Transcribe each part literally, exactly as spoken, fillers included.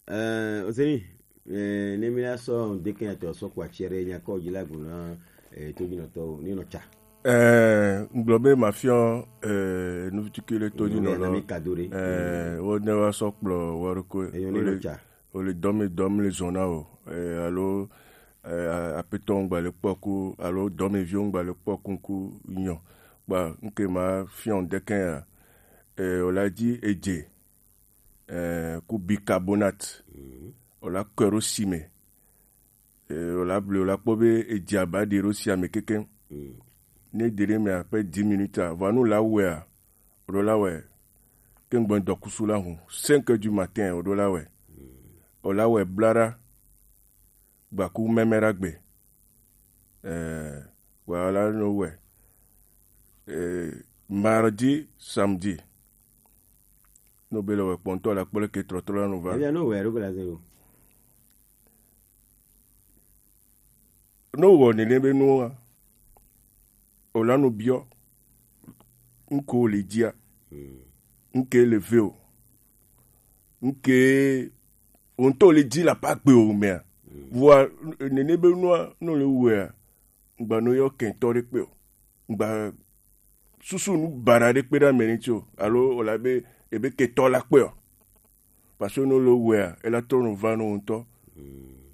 Eh, Ozeni, eh, ne mi la sɔ deke atɔ sɔ kwa tiɛ ɖe nya kɔ dzi la gblɔ na, eh, to dzi nɔtɔ o, ni nɔ tsa. Eh, ngblɔ be ma fiɔ, eh, nuvituki le to dzi nɔ lɔ. Mi kado ɖe. Eh, wo ne wa sɔ kplɔ wa ɖo ko. Eyo ni nɔ tsa. O le dɔmi dɔmi le zɔn na o. Eh, alo, eh, apetɔ ngba le kpɔ ku, alo dɔmi vi ngba le kpɔ ku ku nyɔ. Kpa nke ma fiɔ deke ya. Eh, o la dzi edze. Eh, ku bicarbonate. Mhm. O la kɔe ɖo si me. Eh, o la bli, o la kpɔ be edzi aba ɖi ɖo si ame kekeŋ. Mhm. Ne ɖi ɖe me après dix minutes a, vɔa nu la wɛa, o ɖo la wɛ. Ke ŋgbɔ dɔkusu la hu, cinq heures du matin, o ɖo la wɛ. Mhm. O la wɛ bla ɖa, gbaku mɛmɛ ɖa gbe. Eh, wa la no wɛ. Eh, mardi, samedi. No be le wɛ kpɔntɔ la kpɔ leke trɔtrɔ la no va. Ebia no wɛ ɖo la zero. No wɔ nene be nua. O la no biɔ. Ŋko le dzia. Hmm. Ŋke le ve o. Ŋke o ŋtɔ le dzi la pa gbe o mea. Hmm. Vɔa nene be nua no le wɛa. Ŋgba no yɔ kɛntɔ ɖe kpe o. Ŋgba susu nu baɖa ɖe kpe ɖe ame ŋuti o, alo wòle abe ebe ketɔ la kpe o. Parce que ne wole wɛa, ela trɔ nɔ va nɔ ŋutɔ.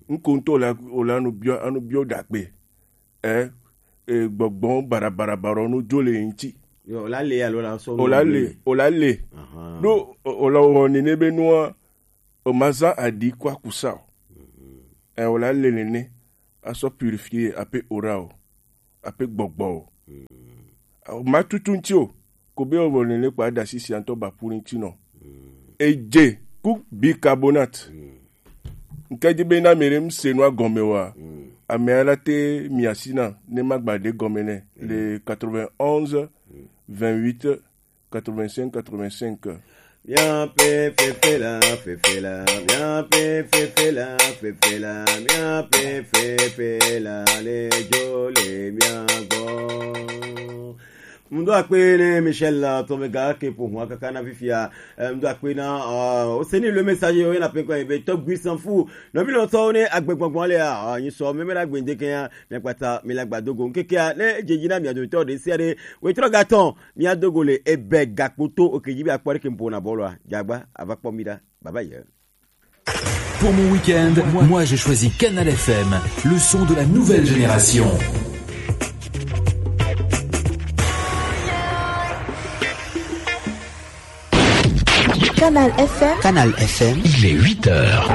Ŋko ŋutɔ wòle, wòle anu biɔ, anu biɔ ɖagbe. Ɛ, e, gbɔgbɔ baɖa baɖa baɖa no dzo le ŋuti. Yo, wòle le alo la sɔ. Wòle le, wòle le. Ahan. Ɖo wòle wɔ nene be nua, o ma zã aɖi kɔ akusa o. Ɛ, wòle le nene. Asɔ purifier ape ora o, ape gbɔgbɔ o. O ma tutu ŋuti o, ko be o vɔ nene kpa da sisi antɔ ba puri ŋuti nɔ. Edze ku bicarbonate. Nke di be na mi ɖe ŋse nua gɔme wa, ame ala te mi asi na ne ma gba ɖe gɔme nɛ le quatre-vingt-onze, vingt-huit, quatre-vingt-cinq, quatre-vingt-cinq. Miaƒe fefe la, fefe la, miaƒe fefe la, fefe la, miaƒe fefe la le dzo le mia gbɔ. Ŋdo akpe ne Michel, uh, Tomega ke ƒo ʋua kaka na fifia. Eh, ŋdo akpe na, uh, Oseni le message yo na pe ko be to gui s'en fout. No mi lo to ne agbegbɔgbɔ le a, uh, nyi so me me na gbe ndeke ya, mi akpata mi la gba dogo. Nkeke ya ne jeji na mi ado to de se de. We tro gaton. Miado go le ebe gakpoto oke dzi be akpɔ ɖeke ƒo na bɔlua. Dzagba, ava kpɔ mi ɖa. Baba ye. Pour mon week-end, moi je choisis Canal F M, le son de la nouvelle génération. Canal F M. Canal F M. Il est huit heures.